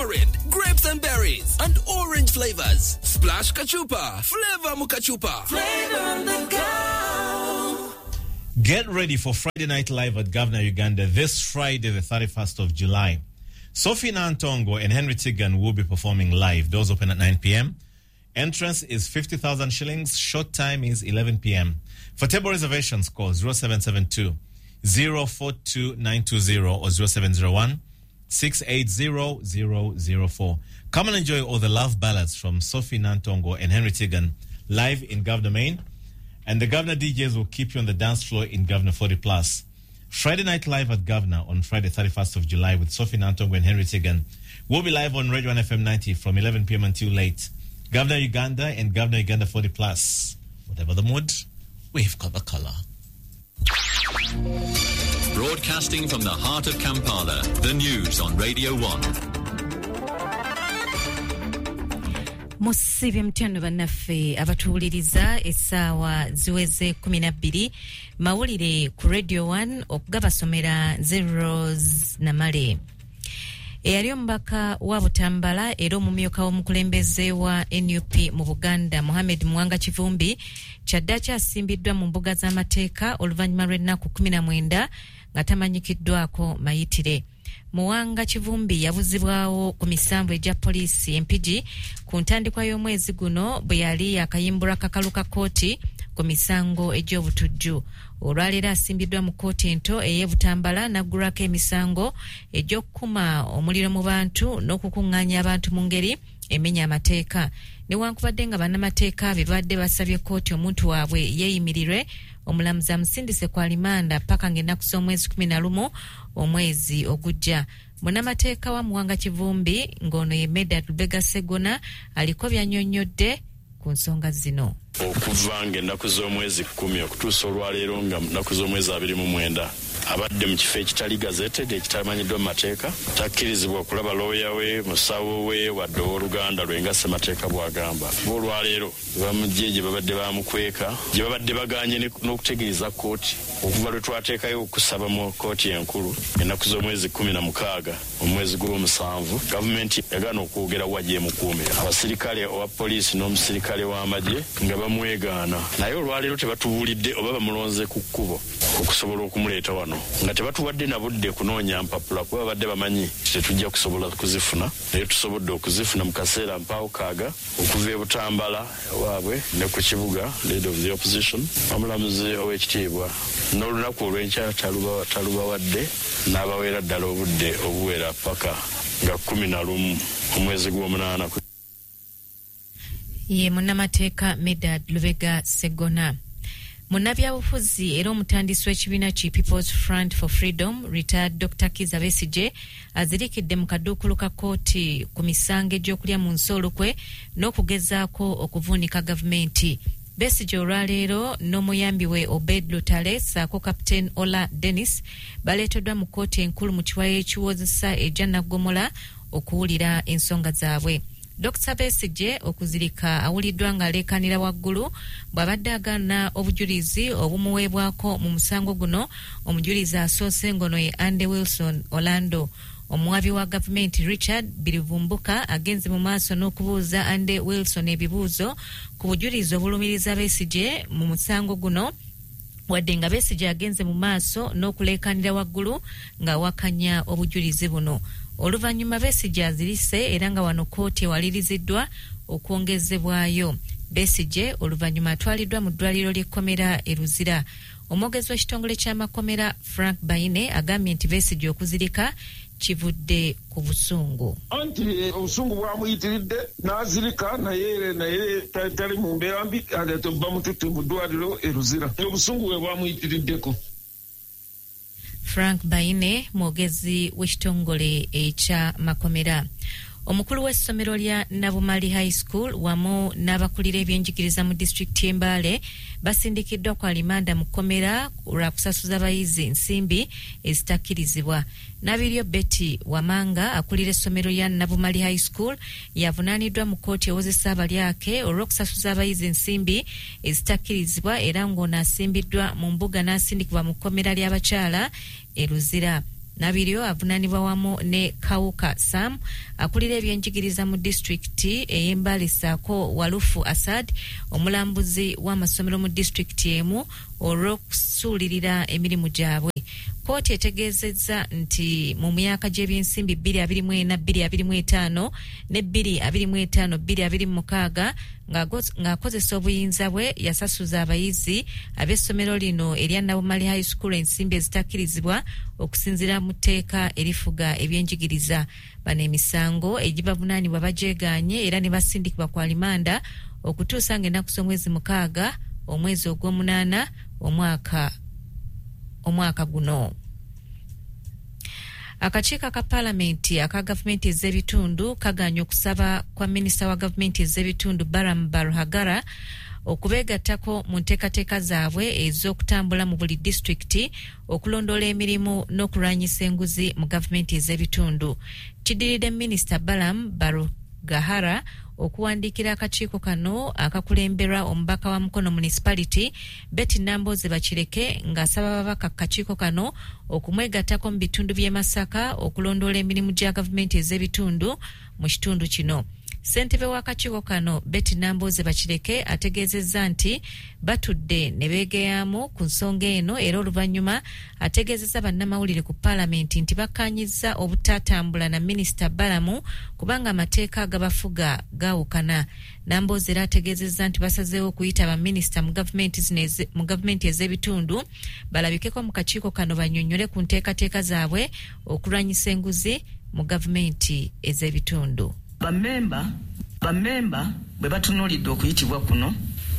tamarind, grapes and berries, and orange flavors. Splash Kachupa. Flavor Mukachupa. Flavor on the go. Get ready for Friday Night Live at Governor Uganda this Friday, the 31st of July. Sophie Nantongo and Henry Tigan will be performing live. Doors open at 9 p.m. Entrance is 50,000 shillings. Short time is 11 p.m. For table reservations, call 0772 042 920 or 0701 680 004. Come and enjoy all the love ballads from Sophie Nantongo and Henry Tigan live in Governor Main. And the Governor DJs will keep you on the dance floor in Governor 40 Plus. Friday Night Live at Governor on Friday, 31st of July with Sophie Nantongo and Henry Tigan. We'll be live on Radio 1 FM 90 from 11 p.m. until late. Governor Uganda and Governor Uganda 40 Plus. Whatever the mood, we've got the color. Broadcasting from the heart of Kampala, the news on Radio 1. Musiibye mutya nno bannaffe abatuwuliriza, essaawa ziweze 12, mawulire ku Radio 1, okugabasomera nze Rose Namale. Eyali omubaka wa Butambala era omumyuka w'omukulembeze wa NUP mu Buganda, Mohammed Muwanga Kivumbi, kyaddaaki asimbiddwa mu mbuga z'amateeka oluvannyuma lw'ennaku 19 nga tamanyikiddwako mayitire. Muwanga Kivumbi yabuzibwawo ku misanvu egya poliisi Empigi ku ntandikwa y'omwezi guno bwe yali akayimbulwa kakalu ka kkooti ku misango egy'obutujju. Olwaleero asimbiddwa mu kkooti ento ey'e Butambala n'aggulwako emisango egy'okukuma omuliro mu bantu n'okukuŋŋaanya abantu mu ngeri emenya amateeka. Newankubadde nga bannamateeka be babadde basabye kkooti omuntu waabwe yeeyimirirwe, omulamuzi amusindise ku alimanda paka ng'ennaku z'omwezi 11 omwezi ogujja. Munnamateeka wa Muwanga Kivumbi ng'ono ye Medard Lubega Ssegona aliko by'annyonnyodde ku nsonga zino. Okuva ng'ennaku z'omwezi 10 okutuusa olwaleero nga nnaku z'omwezi 29, abadde mu kifo ekitali gazetted, ekitamanyiddwa mu mateeka, takkirizibwa kulaba looya we, musawo we, wadde owooluganda lwe nga ssemateeka bw'agamba. Bo olwaleero bamugye gye babadde bamukweka, gye babadde baganye n'okutegeeza kkooti okuva lwe twateekayo okusaba mu kkooti enkulu ennaku z'omwezi 16 omwezi gw'omusanvu. Gavumenti yagaana okwogera wa gyemukuumira, abasirikale owa poliisi n'omusirikale w'amagye nga bamwegaana, naye olwaleero tebatubuulidde oba bamulonze ku kkubo okusobola okumuleeta wano, nga tebatuwadde na budde kunoonya mpapula kuba babadde bamanyi tetujja kusobola kuzifuna, naye tusobodde okuzifuna mu kaseera mpaawo kaaga okuva e Butambala waabwe ne ku kibuga. Leader of the opposition, omulamuzi ow'ekitiibwa, n'olunaku olw'enkya talubawadde, n'abaweera ddala obudde obuwera paka nga 11 omwezi gw'omunaana. Ye munnamateeka Medard Lubega Ssegona. Munnabyabufuzi era omutandisi w'ekibiina ki People's Front for Freedom, retired Dr Kizza Besigye, azirikidde mu kaduukulu ka kkooti ku misango egy'okulya mu nsi olukwe n'okugezaako okuvuunika gavumenti. Besigye olwaleero n'omuyambi we Obed Lutale ssaako Captain Ola Dennis baleeteddwa mu kkooti enkulu mu kiwayo ekiwozesa egya Naggomola okuwulira ensonga zaabwe. Dr Besigye okuzirika awuliddwa ng'aleekanira waggulu bw'abadde agaana obujulizi obumuweebwako mu musango guno. Omujulizi asoose ngono ye Andy Wilson Orlando. Omuwabi wa gavumenti Richard Birivumbuka agenze mu maaso n'okubuuza Andy Wilson ebibuuzo ku bujulizi obulumiriza Besigye mu musango guno, wadde nga Besigye agenze mu maaso n'okuleekanira waggulu ng'awakanya obujulizi buno. Oluvannyuma Besigye azirise era nga wano kkooti ewaliriziddwa okwongezebwayo. Besigye oluvannyuma atwaliddwa mu ddwaliro ly'ekkomera e Luzira. Omwogezi w'ekitongole ky'amakomera Frank Baine agambye nti Besigye okuzirika kivudde ku busungu. Anti obusungu bwamuyitiridde n'azirika, naye tali mu mbeera mbi, bamututte mu ddwaliro e Luzira, obusungu bwe bwamuyitiriddeko. Frank Baine mwogezi w'ekitongole eky'amakomera. Omukulu w'essomero lya Nabumali High School wamu n'abakulira ebyenjigiriza mu disitulikiti y'e Mbale basindikiddwa ku alimanda mu kkomera lwa kusasuza bayizi nsimbi ezitakkirizibwa. Nabiryo Betty Wamanga akulira essomero lya Nabumali High School yavunaaniddwa mu kkooti ewozesa abalyake olw'okusasuza abayizi ensimbi ezitakkirizibwa, era ng'ono asimbiddwa mu mbuga n'asindikibwa mu kkomera ly'abakyala e Luzira. Nabiryo avunaanibwa wamu ne Kawuka Sam akulira ebyenjigiriza mu disitulikiti ey'e Mbale ssaako Walufu Asad omulambuzi w'amasomero mu disitulikiti emu olw'okusuulirira emirimu gyabwe. Kkooti etegeezezza nti mu myaka gy'ebyensimbi 2024 2025 ne 2025 2026 ng'akozesa obuyinza bwe yasasuza abayizi ab'essomero lino erya Nabumali High School ensimbi ezitakkirizibwa okusinziira mu tteeka erifuga ebyenjigiriza. Bano emisango egibavunaanibwa bagyegaanye era ne basindikibwa ku alimanda okutuusa ng'ennaku z'omwezi 6 omwezi ogw'omunaana omwaka guno. Akakiiko aka paalamenti aka gavumenti ez'ebitundu kagaanye okusaba kwa minisita wa gavumenti ez'ebitundu Balaam Barugahara okubeegattako mu nteekateeka zaabwe ez'okutambula mu buli disitulikiti okulondoola emirimu n'okulwanyisa enguzi mu gavumenti ez'ebitundu. Kiddiridde minisita Balaam Barugahara okuwandiikira akakiiko kano akakulemberwa omubaka wa Mukono Municipality Betty Nambooze Bakireke ng'asaba ababaka ku kakiiko kano okumwegattako mu bitundu by'e Masaka okulondoola emirimu gya gavumenti ez'ebitundu mu kitundu kino. Ssentebe w'akakiiko kano Betty Nambooze Bakireke ategeezezza nti batudde ne beegeyaamu ku nsonga eno era oluvannyuma ategeezezza bannamawulire ku paalamenti nti bakkaanyizza obutatambula na minisita Balaam kubanga amateeka agabafuga gaawukana. Nambooze era ategeezezza nti basazeewo okuyita baminisita mu gavumenti ez'ebitundu balabikeko mu kakiiko kano bannyonnyole ku nteekateeka zaabwe okulwanyisa enguzi mu gavumenti ez'ebitundu. Bammemba bwe batunuulidde okuyitibwa kuno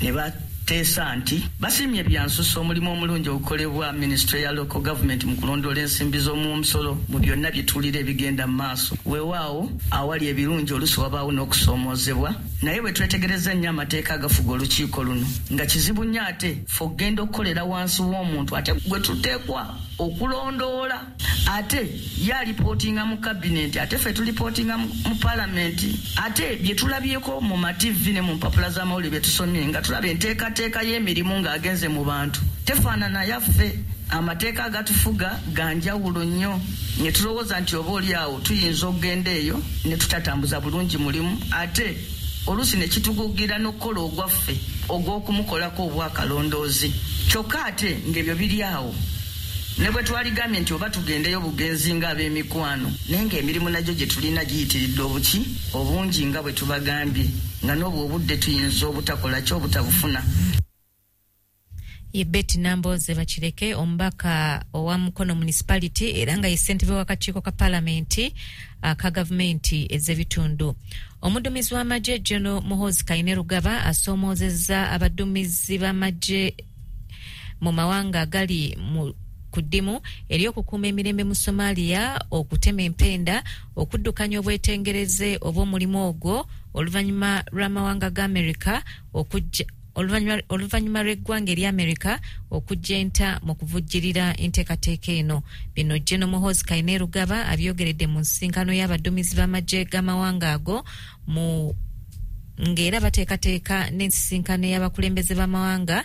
ne bateesa nti basiimye byansusa omulimu omulungi ogukolebwa minisitule ya local government mu kulondoola ensimbi z'omumusolo mu byonna bye tuwulira ebigenda mu maaso. Weewaawo awali ebirungi oluusi wabaawo n'okusoomoozebwa, naye bwe twetegereza ennyo amateeka agafuga olukiiko luno nga kizibu nnyo ate ffe okugenda okukolera wansi w'omuntu ate gwe tuteekwa okulondoola, ate ye alipootinga mu kabineti, ate ffe tulipootinga mu paalamenti, ate bye tulabyeko mu ma TV ne mu mpapula z'amawulire bye tusomye nga tulaba enteekateeka y'emirimu ng'agenze mu bantu tefaanana yaffe. Amateeka agatufuga ga njawulo nnyo ne tulowooza nti oba oli awo tuyinza okugenda eyo ne tutatambuza bulungi mulimu, ate oluusi ne kitugugira n'okukola ogwaffe ogw'okumukolako obwakalondoozi. Kyokka ate ng'ebyo biri awo ne bwe twaligambye nti oba tugendeyo bugenzi ng'ab'emikwano, naye ng'emirimu nagyo gye tulina giyitiridde obuki obungi nga bwe tubagambye, nga n'obwo obudde tuyinza obutakola ki obutabufuna. Ye Betty Nambooze Bakireke omubaka owa Mukono Municipality era nga ye ssentebe w'akakiiko ka paalamenti aka gavumenti ez'ebitundu. Omuddumizi w'amagye General Muhoozi Kainerugaba asoomoozezza abaddumizi b'amagye mu mawanga agali mu ku ddimu ery'okukuuma emirembe mu Somalia okutema empenda okuddukanya obwetengereze obw'omulimu ogwo oluvannyuma lw'amawanga ga Amerika okujja oluvannyuma lw'eggwanga erya Amerika okujja enta mu kuvujjirira enteekateeka eno. Bino General Muhoozi Kainerugaba abyogeredde mu nsisinkano y'abaddumizi b'amagye g'amawanga ago mu ng'era bateekateeka n'ensisinkano y'abakulembeze b'amawanga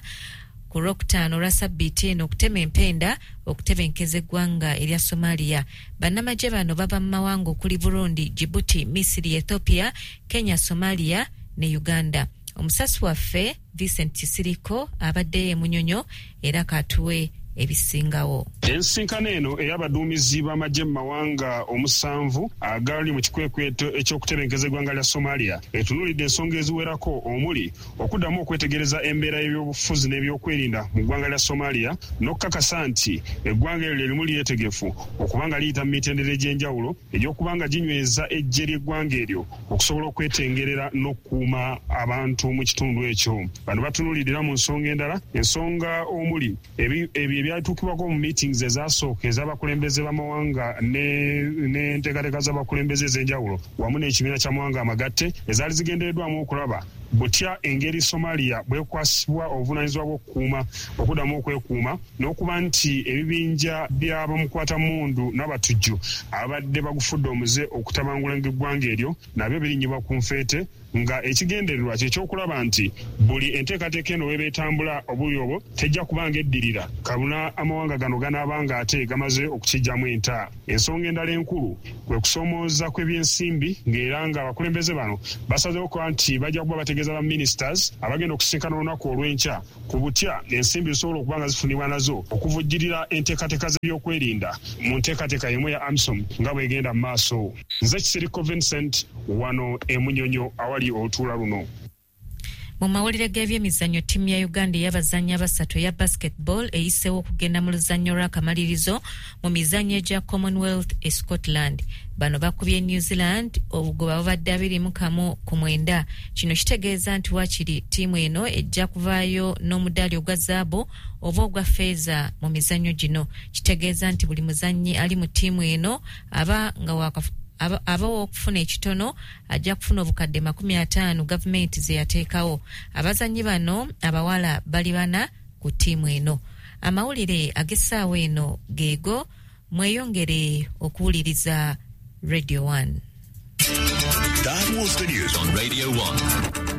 ku Lwokutaano olwa ssabbiiti eno okutema empenda okutebenkeza eggwanga erya Somalia. Bannamagye bano bava mu mawanga okuli Burundi, Djibouti, Misiri, Ethiopia, Kenya, Somalia ne Uganda. Omusasi waffe Vincent Kisiriko abaddeyo e Munyonyo era katuwe ebisingawo. Ensisinkano eno ey'abaduumizi b'amagye mu mawanga 7 agali mu kikwekweto eky'okutebenkeza eggwanga lya Somalia etunuulidde ensonga eziwerako omuli okuddamu okwetegereza embeera y'ebyobufuzi n'ebyokwerinda mu ggwanga lya Somalia n'okukakasa nti eggwanga eryo lye limu lyetegefu okubanga liyita mu mitendera egy'enjawulo egy'okubanga ginyweza eggye ly'eggwanga eryo okusobola okwetengerera n'okukuuma abantu mu kitundu ekyo. Bano batunuulidde era mu nsonga endala, ensonga omuli ebyo ebyatuukibwako mu meetings ezasooka ez'abakulembeze b'amawanga n'enteekateeka z'abakulembeze ez'enjawulo wamu n'ekibiina ky'amawanga amagatte ezaali zigendereddwamu okulaba Butya engeri Somalia bwekwasibwa obuvunaanyizibwa bw'okukuuma okuddamu okwekuuma n'okuba nti ebibinja by'abamukwata mundu n'abatujju abadde bagufudde omuze okutabangula eggwanga eryo nabyo birinnyibwa ku nfeete, nga ekigendererwa kyekyokulaba nti buli enteekateeka eno weba etambula obuli obwo tejja kubanga eddirira kabuna amawanga gano ganaabanga ate gamaze okukijjamu enta. Ensonga endala enkulu kwe kusoomooza kw'ebyensimbi, ng'era nga abakulembeze bano basazeewo okuba nti bajja kuba bategeeza ba ministers abagenda okusisinkana olunaku olw'enkya ku butya ensimbi zisobola okuba nga zifunibwa nazo okuvujjirira enteekateeka z'ebyokwerinda mu nteekateeka y'emu ya AMISOM nga bw'egenda mu maaso. Nze Kisirikko Vincent wano e Munyonyo awali olutuula luno. Mu mawulire g'ebyemizannyo, ttiimu ya Uganda ey'abazannyi abasatu eya basketball eyiseewo okugenda mu luzannyo lw'akamalirizo mu mizannyo egya Commonwealth e Scotland. Bano bakubye New Zealand obugoba bubadde 21 ku 9. Kino kitegeeza nti waakiri ttiimu eno ejja kuvaayo n'omudaali ogwa zaabu oba ogwa feeza mu mizannyo gino. Kitegeeza nti buli muzannyi ali mu ttiimu eno aba nga aba ow'okufuna ekitono ajja kufuna obukadde 50 gavumenti ze yateekawo. Abazannyi bano abawala bali bana ku ttiimu eno. Amawulire ag'essaawa eno geego. Mweyongere okuwuliriza Radio 1. That was the news on Radio 1.